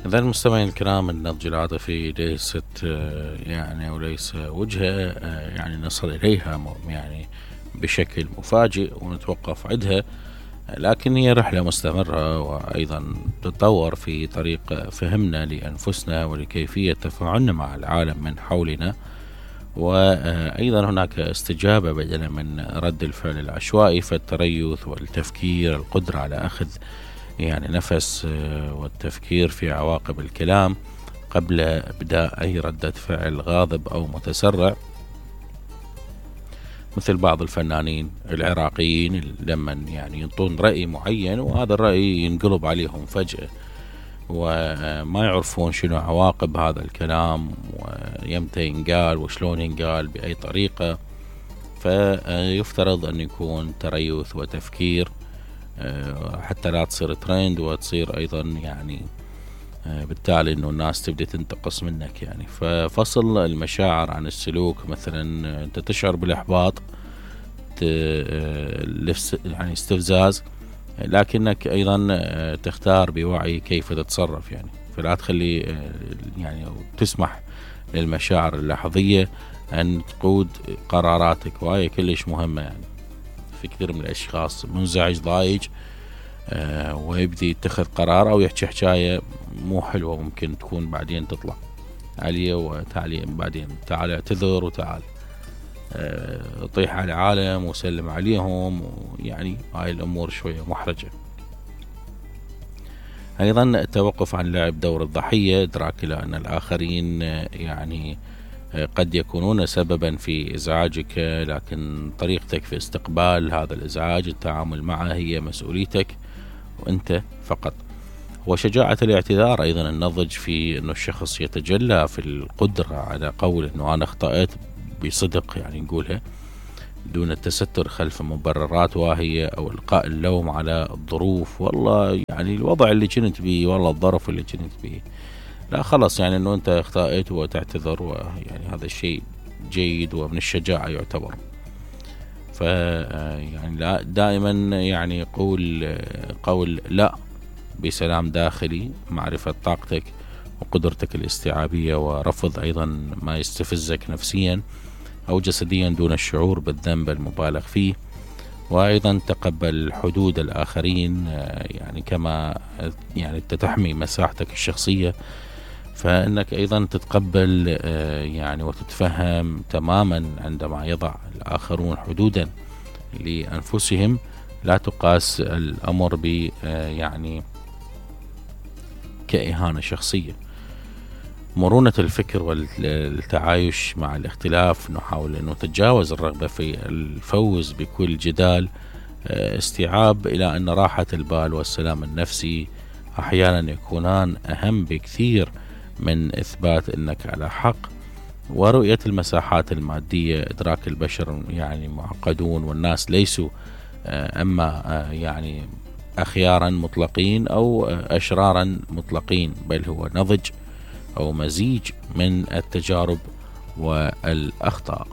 إذا المستمعين الكرام، النضج العاطفي ليست يعني وليس وجهة يعني نصل إليها يعني بشكل مفاجئ ونتوقف عندها، لكن هي رحلة مستمرة وأيضا تتطور في طريق فهمنا لأنفسنا ولكيفية تفاعلنا مع العالم من حولنا. وأيضا هناك استجابة بدلا من رد الفعل العشوائي، فالتريث والتفكير، القدرة على أخذ يعني نفس والتفكير في عواقب الكلام قبل إبداء أي ردة فعل غاضب أو متسرع، مثل بعض الفنانين العراقيين لما يعني ينطون رأي معين وهذا الرأي ينقلب عليهم فجأة وما يعرفون شنو عواقب هذا الكلام ويمتى ينقال وشلون ينقال بأي طريقة. فيفترض أن يكون تريث وتفكير حتى لا تصير ترند وتصير أيضا يعني بالتالي أنه الناس تبدأ تنتقص منك يعني. ففصل المشاعر عن السلوك، مثلا أنت تشعر بالإحباط يعني استفزاز، لكنك أيضا تختار بوعي كيف تتصرف يعني. فلا تخلي يعني تسمح للمشاعر اللحظية أن تقود قراراتك، وهي كلش مهمة يعني. في كثير من الأشخاص منزعج ضايج ويبدي يتخذ قرار أو يحكي حكاية مو حلوة، ممكن تكون بعدين تطلع عليه وتعالي بعدين تعال اعتذر وتعال طيح على العالم وسلم عليهم، ويعني هاي الأمور شوية محرجة. أيضا التوقف عن لعب دور الضحية، إدراك إلى أن الآخرين يعني قد يكونون سببا في إزعاجك، لكن طريقتك في استقبال هذا الإزعاج التعامل معه هي مسؤوليتك وأنت فقط. وشجاعة الاعتذار، أيضا النضج في أنه الشخص يتجلى في القدرة على قول أنه أنا أخطأت بصدق، يعني نقولها دون التستر خلف مبررات واهية أو إلقاء اللوم على الظروف. والله يعني الوضع اللي كنت بيه، والله الظرف اللي كنت بيه، لا خلص يعني أنه أنت اخطأت وتعتذر، ويعني هذا الشيء جيد ومن الشجاعة يعتبر. يعني لا دائما يعني قول لا بسلام داخلي، معرفة طاقتك وقدرتك الاستيعابية، ورفض أيضا ما يستفزك نفسيا أو جسديا دون الشعور بالذنب المبالغ فيه. وأيضا تقبل حدود الآخرين، يعني كما يعني تحمي مساحتك الشخصية، فإنك أيضا تتقبل يعني وتتفهم تماما عندما يضع الآخرون حدودا لأنفسهم، لا تقاس الأمر ب يعني كإهانة شخصية. مرونة الفكر والتعايش مع الاختلاف، نحاول أن نتجاوز الرغبة في الفوز بكل جدال، استيعاب إلى أن راحة البال والسلام النفسي أحيانا يكونان أهم بكثير من إثبات أنك على حق. ورؤية المساحات المادية، إدراك البشر يعني معقدون والناس ليسوا أما يعني أخيارا مطلقين أو أشرارا مطلقين، بل هو نضج أو مزيج من التجارب والأخطاء.